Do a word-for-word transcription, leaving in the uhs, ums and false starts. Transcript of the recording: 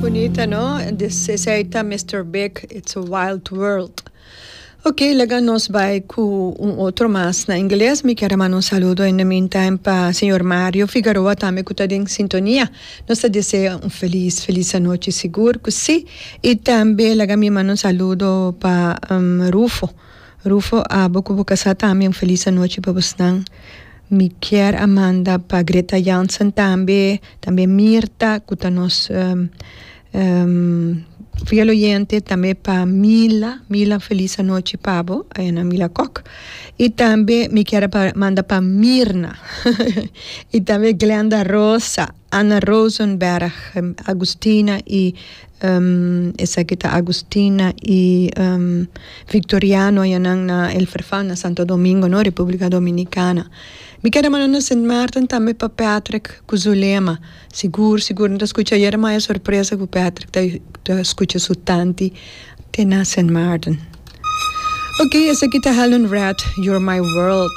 Bunita, no? This is ta Mister Big, "It's a Wild World." Ok, laga nos bai ku un otro mas na ingles. Mi ke manda un saludo in the meantime pa señor Mario Figueroa tambe, ku ta den sintonia. Nos ta desea un felis, felis anochi, sigur ku si. I tambe laga mi manda un saludo pa um, Rufo. Rufo, abo ku bo kasá tambe, un felis anochi pa boso. Mi ke a manda pa Greta Jansen tambe, tambe Mirta, ku ta nos um, um, fiel oyente, tambe pa Mila, Mila, felis anochi pa bo, na Mila Kok. I tambe mi ke manda pa Mirna, i tambe Glenda Rosa, Ana Rosenberg, Agustina i um, esaki ta Agustina i um, Victoriano na El Farfán, na Santo Domingo, no, Repúblika Dominikana. Mi ke manda na Saint Martin tambe pa Patrick ku Zulema. Sigur, sigur, no skucha ayera mas sorpresa ku Patrick ta, ta skucha su tanti te na Saint Martin. Ok, esaki ta Helen Red, "You're My World."